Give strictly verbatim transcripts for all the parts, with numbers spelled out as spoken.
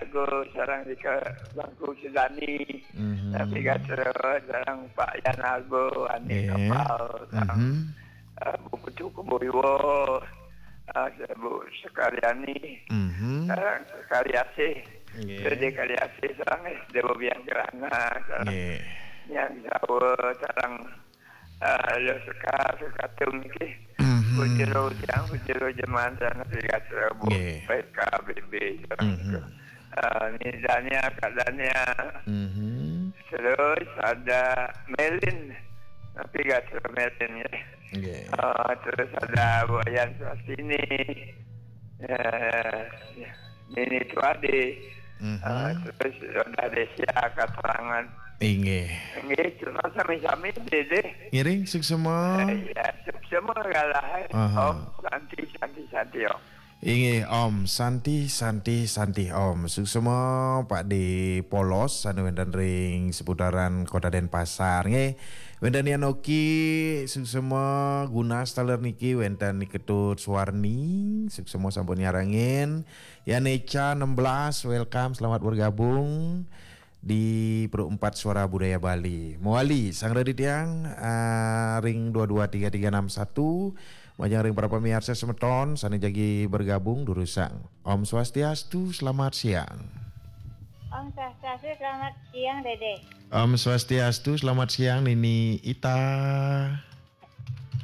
Argo, sareng Rika Bangku Sudani, Mhm. Napi gatra, sareng Pak Yan Argo, Ani Nggih. Kapal, sareng, Mhm. eh, Bu Putu Keboiwo, eh, Bu Sekaliani, Mhm. sareng Sekaliasih, Nggih. Dede Kaliasih, sareng Dede Bobian Kerana, sareng Nggih. Nyang Jawa, sareng, eh, Lho Sekar, Sekatung niki. Mhm. Bujero tiang, bujero jeman, sareng Napi gatra, Bu Nggih. P K B B, sareng Mhm. Eh, ni Dania, Kak Dania. Mhm. Terus ada Melin. Napi gatra Melin ya. Nggih. Eh, terus ada Bu Ayan Sastini. Eh, Nini Tuadi. Mhm. Eh, terus ada Desia Katorangan. Inggih. Nggih, terus sami-sami Dede. Ngiring, suksema. Eh, ya, suksema galah, eh. Aha. Om Santi, Santi, Santi, Om. Inggih, Om. Santi, Santi, Santi, Om. Suksema Pak De Polos, anu wénten ring seputaran Kota Denpasar, nggih. Wénten Yan Oki, suksema Gunas taler niki, wénten Ni Ketut Suwarni, suksema sampun nyarengin. Yan Eca enam belas, welcome, selamat bergabung di Pro empat Suara Budaya Bali. Mawali, sang radi tiang, ah, ring dua dua tiga tiga enam satu, majeng ring para pamiarsa semeton, sané jagi bergabung, durusang. Om Swastiastu, selamat siang. Om Swastiastu, selamat siang, Dede. Om Swastiastu, selamat siang, Nini Ita.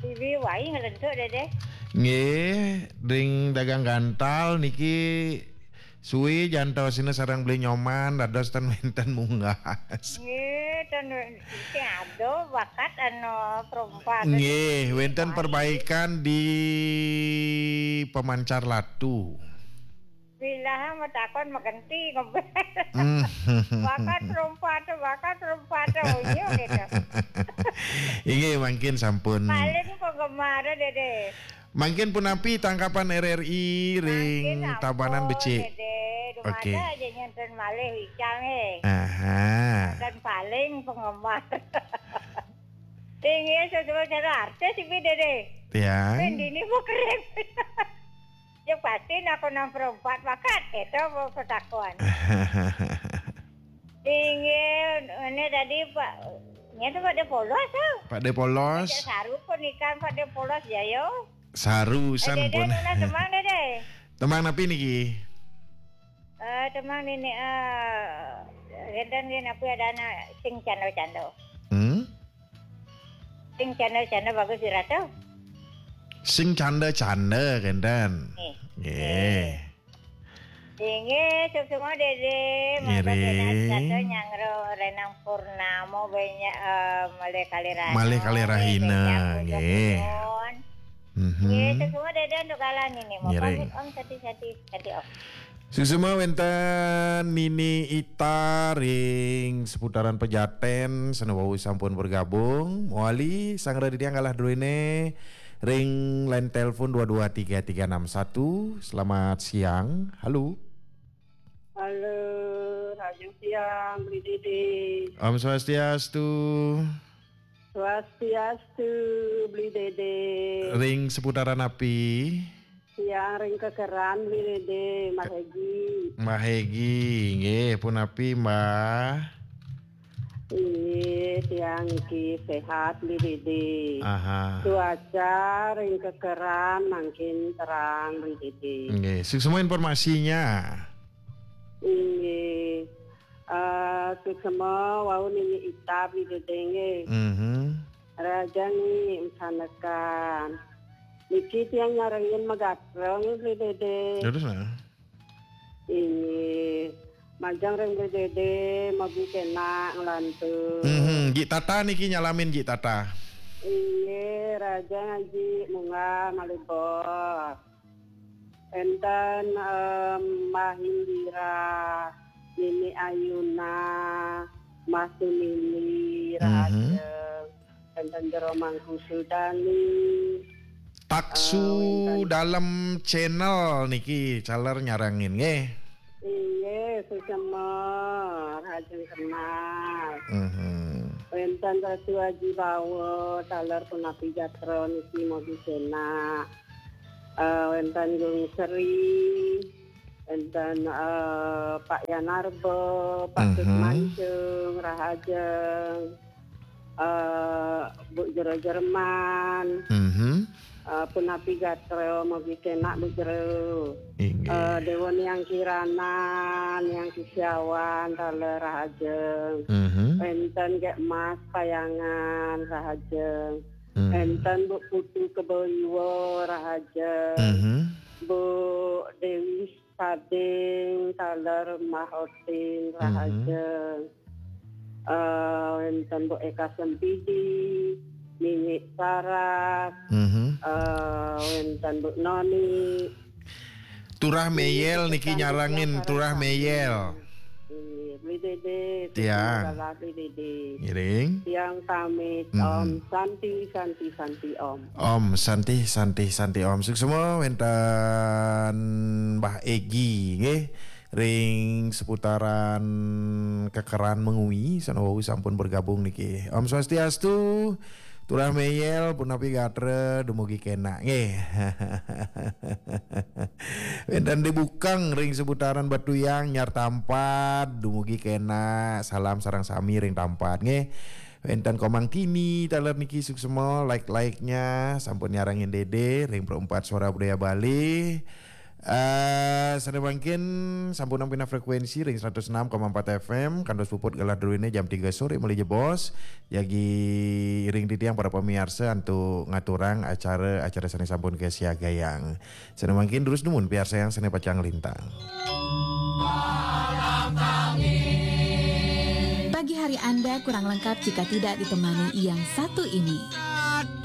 Bibi wai nglentuk, Dede. Nggih, ring dagang gantal niki suwi jantosina sareng Beli Nyoman, dados ten wénten munggah. Nggih, ten wénten sing ada bakat anu perompak. Nggih, wénten perbaikan di pemancar latu. Bilaha matakon magenti ngebel. Hmm. Bakat perompak, bakat perompak, unyu gitu. Inggih, mangkin sampun. Paling penggemar, Dede. Mangkin punapi tangkapan R R I ring Mangkin ampun, Tabanan becik. Dede. Oke. Dumada aja nyenten malih wicang, eh. Aha. Dan paling penggemar. Inggih, sesuai cara artis iki, Dede. Tiang. Mendini mau kering. Ya pasti nak nang perempat bakat, itu mau pertakuan. Inggih, ini tadi Pak, ini tuh Pak De Polos tuh. Pak De Polos. Ajak saru pun ikan Pak De Polos ya, yo. Saru Eh, san Dede, pun. Nuna temang, Dede. Temang napi niki? Eh, temang nini, eh, genten gini, apa ada anak sing cando-cando. Hmm? Sing canda-canda bagus dirasa. Sing canda-canda, kenten. Nggih. Nggih. Inggih, suksma Dede, mangga Ngiring. Kata nyangro Renang Purnama banyak, eh, malih kalih rahina. Malih kalih rahina, nggih. Nuwun. Mhm. Nggih, suksma Dede untuk kala niki. Ngiring. Pamit, Om, sati-sati, sati, Om. Suksma wénten Nini Ita ring seputaran Pejaten, sané wau sampun bergabung. Mawali sang radi tiang galah druéné ring line telepon dua dua tiga tiga enam satu. Selamat siang. Halo. Halo, rahajeng siang, Bli Dede. Om Swastiastu. Swastiastu, Bli Dede. Ring seputaran napi? Tiang ring Kekeran, Bli Dede, Mbah Hegi. Mbah Hegi, nggih, punapi, Mbah? Inggih, tiang niki sehat, Bli Dede. Aha. Cuaca ring Kekeran mangkin terang, Bli Dede. Nggih, suksma informasinya. Inggih. Eh, suksma wau Nini Ita, Bli Dede, nggih. Mhm. Rahajeng niki, masanekan. Niki tiang nyarengin magatra nggih, Bli Dede. Terus, nah. Inggih. Majeng ring Bli Dede, mogi kenak nglantur. Mhm, Jik Tata niki nyalamin, Jik Tata. Inggih, rahajeng Aji munggah malih bos. Enten, em, Mbah Indira, Nini Ayuna, Mbah Tumini, mhm, rahajeng. Enten Jero Mangku Sudani. Taksu, eh, wénten Dalem Channel niki taler nyarengin, nggih. Inggih, suksma, rahajeng kenal. Mhm. Wénten Ratu Aji Bawa, taler punapi gatra niki mogi kenak. Eh, wénten Gung Sri. Enten eh, Pak Yanarbo, Pak Cut Mhm. Mancung, Rahajeng, eh, Bu Jero Jerman, Mhm. eh, punapi gatra, mugi kenak Bu Jero. Inggih. Eh, Dewa Niang Kiranan, Niang Kisiawan, taler Rahajeng. Mhm. Enten Gek Mas Payangan, Rahajeng. Mhm. Enten Bu Putu Keboiwo, Rahajeng. Mhm. Bu Dewi Sading, taler Mahoting, Mhm. Rahajeng. Eh, enten Bu Eka Sempidi, Minyik Saras, Mhm. eh, enten Bu Noni. Turah Meyel niki nyarangin, Turah Meyel. Iya, Beli Dede, Ya. Beli Dede. Ngiring. Tiang pamit, Mhm. Om Santi, Santi, Santi, Om. Om Santi, Santi, Santi, Om. Suksma wenten Mbah Egi, nggih. Ring seputaran Kekeran Mengwi, sana wau sampun bergabung niki. Om Swastiastu, Turah Meyel, punapi gatra, dumugi kenak, nggih. Wenten di Bukang ring seputaran Batuyang, Nyar Tampat, dumugi kenak, salam sareng sami ring Tampat, nggih. Wenten Komang Tini, taler niki suksma, like-like-nya, sampun nyarangin Dede, ring Perempat Suara Budaya Bali. Eh, sane mangkin sampun nampina frekuensi ring seratus enam koma empat F M, kantos puput galah druene jam tiga sore malih jebos. Jagi ring titiang para pamiarsa antuk ngaturang acara-acara sane sampun kasiagayang. Sane mangkin terus dumun piarsayang sane pacang lintang. Pagi hari Anda kurang lengkap jika tidak ditemani yang satu ini.